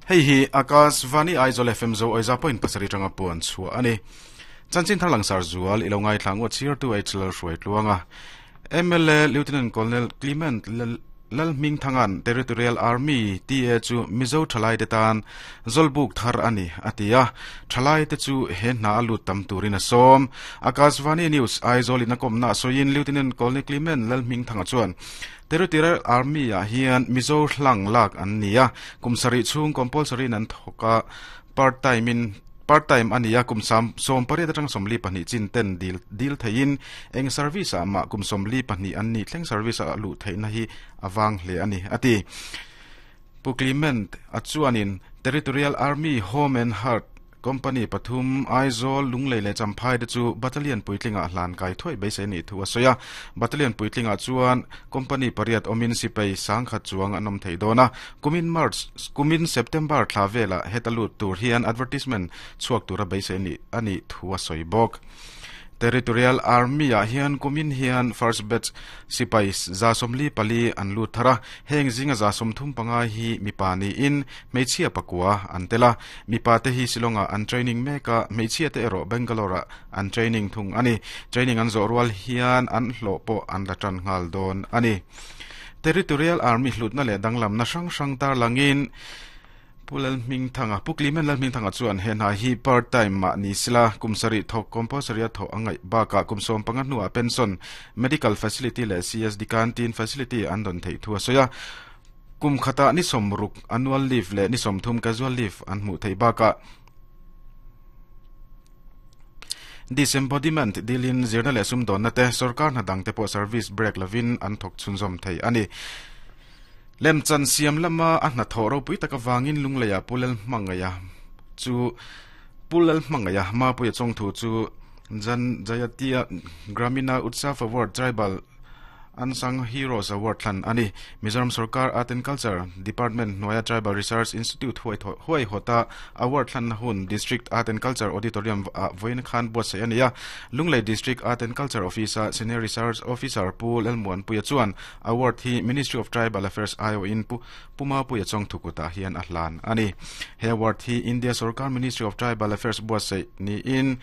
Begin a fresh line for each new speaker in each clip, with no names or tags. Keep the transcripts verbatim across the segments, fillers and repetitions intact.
Hei hi Akashvani Aizawl F M zo oiza point pasarih tanga puan chhuah ani. Chanchin thar langsar zual ilo ngai thlang wa chir tu H L hruai tluanga. M L A Lieutenant Colonel Clement Lalhming Thangan Territorial Army T A chu Mizo Thalai te tan Zolbuk thar ani atia Thalai te chu he hna alu tam turin a som. Akashvani News Aizawl in a komna soin Lieutenant Colonel Clement Lalhming Thanga chuan Territorial Army a hian Mizo hlang lak an nia kumsari chung compulsory nan thoka part time in part time ania kum sam som pariat atang somli pahnih chin ten dil dil thein eng service a ma kum somli pahnih an ni thleng service a lu theina hi awang hle ani ati. Pu Clement achuanin Territorial Army Home and Heart Company pathum Aizawl Lunglei le Champhai te chu battalion puitlinga hlan kai thoi beisei ni thu asoya battalion puitlinga chuan company pariat omin sipai sangkhat chuang anom thei dona kumin March kumin September thlavela hetalu tur hian advertisement chuak tura beisei ni ani thu asoi bok. Territorial Army a hian kumin hian first batch sipai za somli pali an lu thara heng zinga za som thum panga hi mipani in meichhia pakua antela mipa te hi silonga an training meka meichhia te ero Bangalore an training thung ani training an zo rual hian an hlo po an la tran ngal don ani. Territorial Army hlutna le danglam na sang sang tar langin Pulal Ming Thanga Pu Clement Lal Ming Thanga chuan he hna hi part time ma ni sila kumsari thok compulsory tho angai ba ka kumsom panga nuwa pension medical facility le C S D canteen facility an don thei thua soya kum khata ni somruk annual leave le ni somthum casual leave an mu thei ba ka disembodiment dilin zirna le sum don na te sarkar na dang te po service break lavin an thok chunzom thei ani. Lem chan siam lama a hna thoro pui taka wangin lungleia pulal mangaya chu pulal mangaya ma puya chong thu chu Jan Jayatia Gramina Utsav Award Tribal Unsung Heroes Award thlan ani. Mizoram Sarkar Art and Culture Department Noya Tribal Research Institute huai huai hota award thlan hun District Art and Culture Auditorium voin khan bo se ania Lunglei District Art and Culture Officer Senior Research Officer Pu Lalmuan Puya chuan award hi Ministry of Tribal Affairs I O in pu Puma Puya chong thukuta hian a hlan ani. He award hi India Sarkar Ministry of Tribal Affairs bo se ni in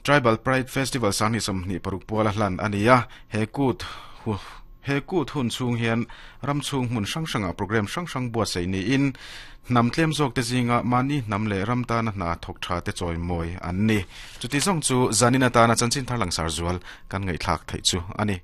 Tribal Pride Festival sani somni paruk puala hlan ania he kut he kut hun chung hian ram chung mun sang sanga program sang sang bua sei ni in nam tlem zawk te zinga mani nam le ram ta na hna thok tha te choi moi an ni. Chuti zawng chu zanina ta na chanchin thar langsar zual kan ngai thlak thei chu ani.